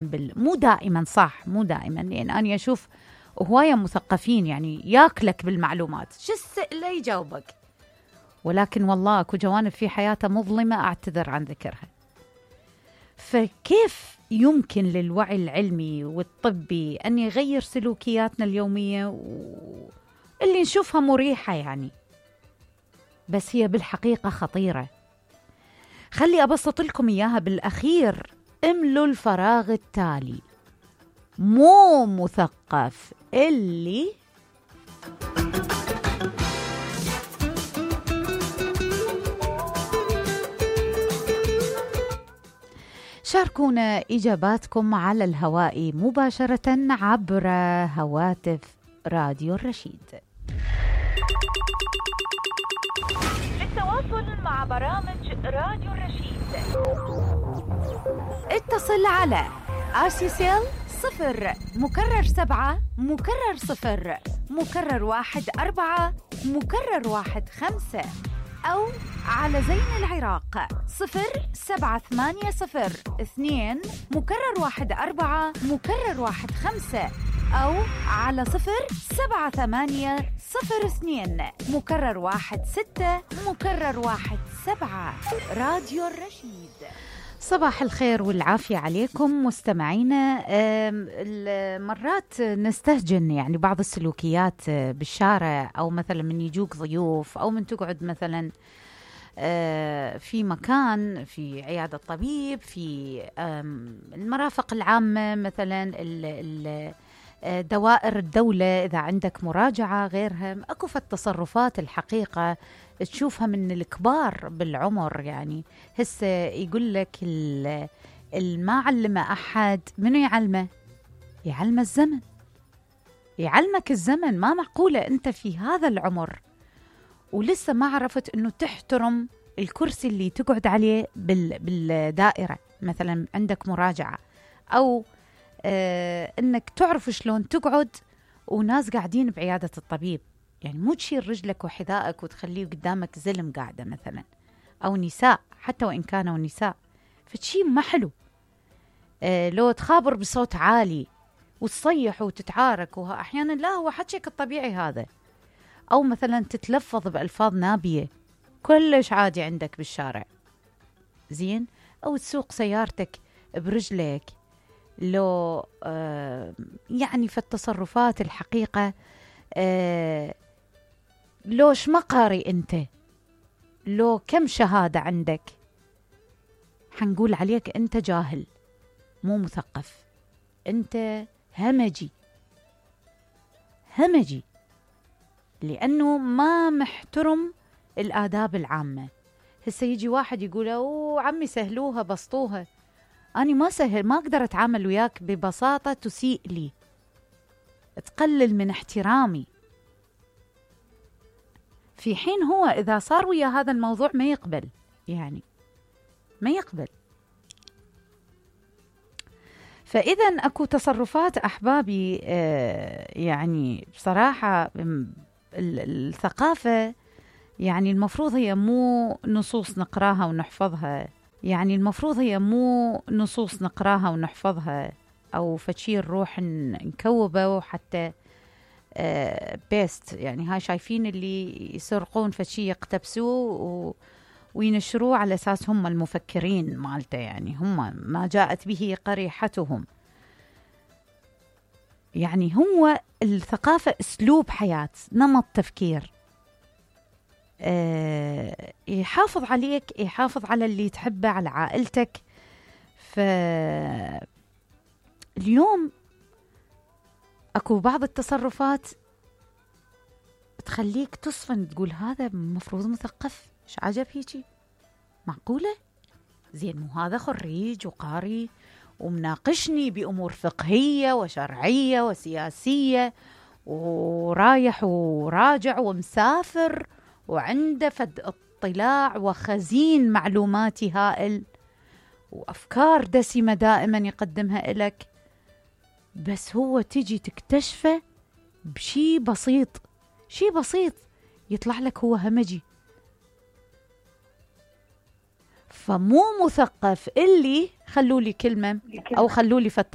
مو دائما صح، مو دائما، لأن أنا أشوف هواية مثقفين يعني ياكلك بالمعلومات، شو السئلة يجاوبك، ولكن والله أكو جوانب في حياته مظلمة أعتذر عن ذكرها. فكيف يمكن للوعي العلمي والطبي أن يغير سلوكياتنا اليومية اللي نشوفها مريحة يعني، بس هي بالحقيقة خطيرة. خلي أبسط لكم إياها بالأخير. املوا الفراغ التالي: مو مثقف اللي شاركونا إجاباتكم على الهواء مباشرة عبر هواتف راديو الرشيد. للتواصل مع برامج راديو الرشيد اتصل على RCCL 0 مكرر 7 مكرر 0 مكرر 1 4 مكرر 1 5 أو على زين العراق 07802 مكرر 1 4 مكرر 1 5 أو على 07802 مكرر 1 6 مكرر 1 7. راديو الرشيد. صباح الخير والعافية عليكم مستمعينا. مرات نستهجن يعني بعض السلوكيات بالشارع، أو مثلا من يجوك ضيوف، أو من تقعد مثلا في مكان، في عيادة طبيب، في المرافق العامة مثلا، دوائر الدولة، إذا عندك مراجعة غيرها. أكو في التصرفات الحقيقة تشوفها من الكبار بالعمر، يعني هسه يقول لك ما علم أحد، منو يعلمه؟ يعلم الزمن، يعلمك الزمن. ما معقولة أنت في هذا العمر ولسه ما عرفت أنه تحترم الكرسي اللي تقعد عليه بالدائرة، مثلا عندك مراجعة، أو أنك تعرف شلون تقعد وناس قاعدين بعيادة الطبيب. يعني مو تشيل رجلك وحذائك وتخليه قدامك زلم قاعدة مثلا، أو نساء، حتى وإن كانوا نساء، فشي ما حلو. لو تخابر بصوت عالي وتصيح وتتعارك، أحيانا لا، هو حكيك الطبيعي هذا. أو مثلا تتلفظ بألفاظ نابية كلش عادي عندك بالشارع، زين. أو تسوق سيارتك برجلك. لو يعني في التصرفات الحقيقة لو شمقاري أنت، لو كم شهادة عندك، حنقول عليك أنت جاهل، مو مثقف، أنت همجي، همجي، لأنه ما محترم الآداب العامة. هسه يجي واحد يقول أوه عمي سهلوها بسطوها، أنا ما سهل، ما أقدر أتعامل وياك ببساطة تسيء لي، تقلل من احترامي. في حين هو إذا صار ويا هذا الموضوع ما يقبل، يعني ما يقبل. فإذا أكو تصرفات أحبابي يعني بصراحة الثقافة يعني المفروض هي مو نصوص نقراها ونحفظها، يعني المفروض هي مو نصوص نقراها ونحفظها، أو فشي نروح نكوبه وحتى بيست. يعني هاي شايفين اللي يسرقون فشي يقتبسوه وينشروه على أساس هم المفكرين مالته، يعني هم ما جاءت به قريحتهم. يعني هو الثقافة أسلوب حياة، نمط تفكير، يحافظ عليك، يحافظ على اللي تحبه، على عائلتك. فاليوم أكو بعض التصرفات تخليك تصفن، تقول هذا مفروض مثقف، إيش عجب هيجي؟ معقولة؟ زين، مو هذا خريج وقاري ومناقشني بأمور فقهية وشرعية وسياسية، ورايح وراجع ومسافر، وعنده فد اطلاع وخزين معلوماتي هائل وأفكار دسمة دائما يقدمها إلك، بس هو تجي تكتشفه بشي بسيط، شي بسيط يطلع لك هو همجي. فمو مثقف اللي خلوا لي كلمة أو خلوا لي فد